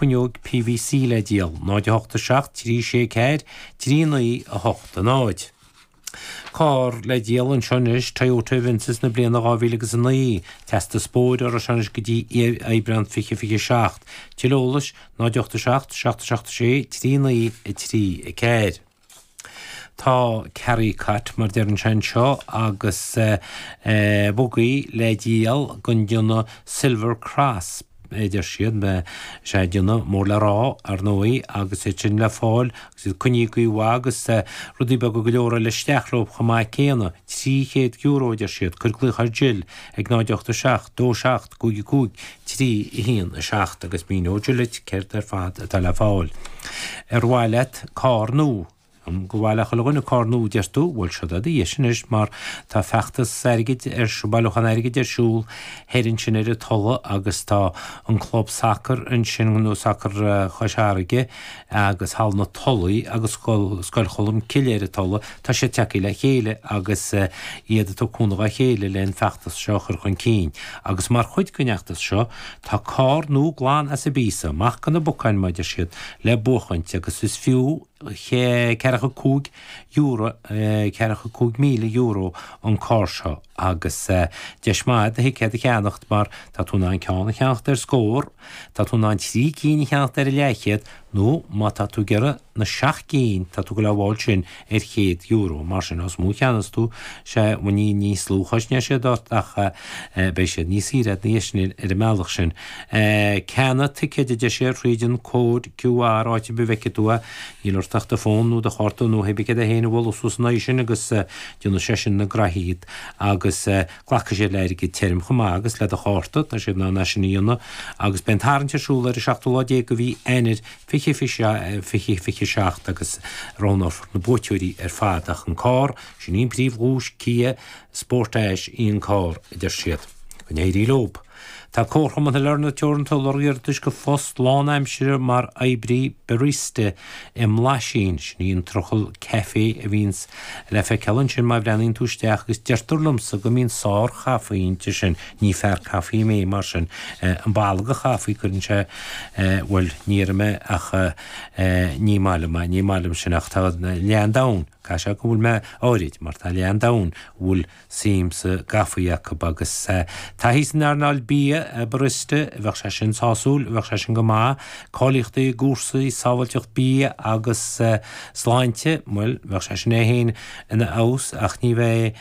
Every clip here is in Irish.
Fuinneog PVC le díol, 0 8 7 3 6 4 3 9 8 0. Carr le díol anseo anois, Toyota Avensis na bliana 2009, teastas bóthair orthu seo anois go dtí Aibreán 2027. Tuilleadh eolais, 0 8 7 7 7 6 3 9 3 4. Tá carry cot, mar deireann sé anseo, agus bugaí le díol den déanamh Silver Cross, a deir siad, is é déanamh mór le rá, ar ndóigh, agus iad sin le fáil agus iad coinnithe go maith agus rudaí beaga go leor eile isteach leo chomh maith céanna. €300, a deir siad. Cuir glaoch ar Jill ag 0 8 7 2 7 5 5 3 1 7 agus míneoidh Jill duit céard ar fad atá le fáil. Ar mhaith leat carr nua? An gur mhaith le chuile dhuine carr nua, deir tú? Bhuel, seo do dheis anois mar tá feachtas airgid ar siúl, bailiúchán airgid ar siúl thoir ansin ar an Tulaigh agus tá an club sacair ansin, nó sacar Chois Fharraige agus Halla na Tulaí agus Scoil Cholm Cille ar an Tulaigh, tá siad tagtha le chéile agus iad ag tabhairt cúnamh dá chéile le an feachtas seo a chur chun cinn. Agus mar chuid den fheachtas seo, tá carr nua glan as an bpíosa, amach de na bacáin mar a deir siad, le buachaint agus is fiú €45, €45,000 an carr seo agus deis maith do thicéad a cheannacht mar tá tú in ann ceann a cheannacht ar scór, tá tú in ann trí cinn a cheannacht ar a leathchéad nó má tá tú ag iarraidh na seacht gcinn, tá tú ag goil á bhfáil sin ar €100. Mar sin, os mó a cheannas tú, sea, bhuel ní níos lú a chosnóidh siad ort ach beidh siad níos saoire a'd ina dhiaidh sin ar an mbealach sin. Ceannaigh ticéid a deir sé thríd an cód QR áit ar bith a bhfeicfidh tú é. Níl ort ach do fón nó do chárta nó hé bith céard é féin a bhualadh suas ina aghaidh sin agus déanfaidh sé sin na graithí iad agus glacfaidh siad le airgead tirim chomh maith agus le do chárta, tá siad in ann é sin a dhéanamh agus beidh an tarraingt ar siúl ar an seachtú lá déag de mhí Eanáir 20 2027 agus roghnófar na buaiteoirí ar fad ach an carr, sin í an príomhdhuais, Kia Sportage í an carr, a deir siad. Go n-éirí leob. Tá Comharchumann Shailearna Teoranta ag lorg iarratais go phost lánaimsire mar oibrí barista i mBlaisín. Sin í an trucail caife a bhíonns le feiceáil ansin má bhreathnaíonn tú isteach agus deirtear liomsa go mbíonn sár-chaife inti sin. Ní fear caife mé mar sin. An boladh de chaife cuireann sé, bhuel, ní déarfaidh mé ach ní maith liom é, ní maith liom sin ach tá leath an domhain, caithfidh sé go bhfuil mé áirid mar tá leath an domhain a bhfuil suim sa gcaife acu agus taithí san earnáil bia, barista, bheadh sé sin sásúil, bheadh sé sin go maith. Cáilíochtaí i gcúrsaí sábháilteacht bia agus sláinte, bhuel, bheadh sé sin é féin ina fheabhas ach ní bheidh,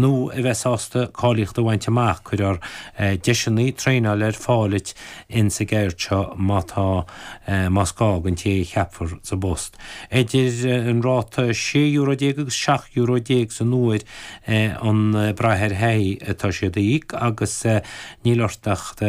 nó a bheith sásta cáilíocht a bhaint amach, cuirfear deiseanna traenála ar fáil duit insa gceird seo má tá, más gá don té a cheapfar sa bpost. Idir an ráta €16 agus €17 san uair an brath ar thaithí atá siad a íoc agus níl ort ach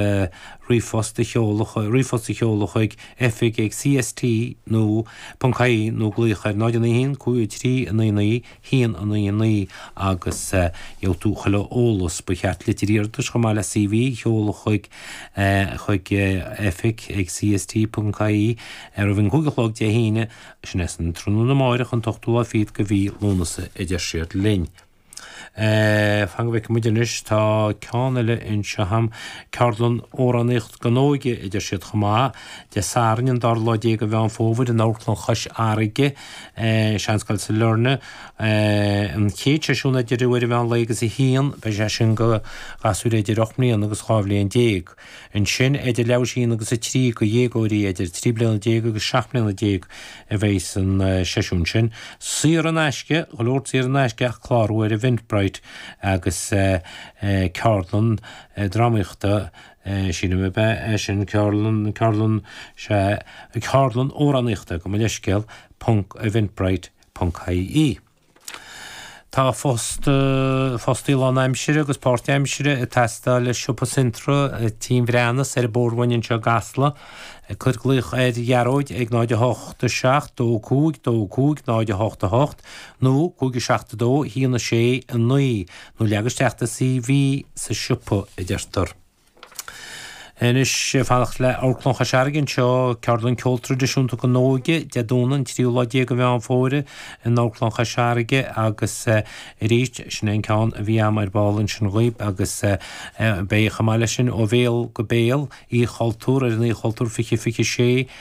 ríomhphost a sheoladh ríomhphost a sheoladh chuig oifig ag cst nó ponc ie nó glaoch ar 0 9 1 5 3 9 9 1 9 9 agus gheobhaidh tú chuile eolas. Ba cheart litir iarratais chomh maith le CV a sheoladh chuig chuig oifig ag cst ponc ie roimh an 5 a chlog Dé hAoine Sin é san tráthnóna amáireach an t-ochtú lá fichead de mhí Lúnasa a deir siad linn. Fan go bhfeicfidh muid anois, tá ceann eile anseo a'm, ceardlann amhránaíocht don óige a deir siad chomh maith, Dé Sathairn an dara lá déag de Mheán Fómhair in Amharclann Chois Fharraige, Seanscoil Sailearna. An chéad seisiún idir uair an mheán lae agus a haon, beidh sé sin do ghasúir idir 8 mbliana agus 12 bhliain. Ansin, idir leathuair tar éis a haon agus a 3 do dhéagóirí idir 13 bliana agus 17 mbliana a bheidh san seisiún sin. Saor in aisce, go leor saor in aisce ach clárú ar Eventbrite agus ceardlann drámaíochta, sílim ab ea é sin, ceardlann, ceardlann, sea, ceardlann amhránaíochta, gabh mo leithscéal, ponc eventbrite ponc ie. Tá post, fostaí lánaimsire agus páirtaimsire ag teastáil i siopa Centra Tí an Bhreathnas ar an Bhóthar anseo i gCasla. Cuir glaoch ar Ghearóid ag 0 8 7 2 5 2 5 0 8 8 nó 5 7 2 1 6 9 nó leag isteach do CV sa siopa, a deirtear. Anois, fanacht le Amharclann Chois Fharraige anseo, ceardlann ceol traidisiúnta don óige, Dé Domhnaigh an tríú lá déag de Mheán Fómhair in Amharclann Chois Fharraige agus arís, sin é an ceann a bhí a'm ar ball ansin dhaoib agus beidh chomh maith leis sin Ó Bhéal go Béal, Oíche Chultúr ar an Oíche Chultúr 20 26.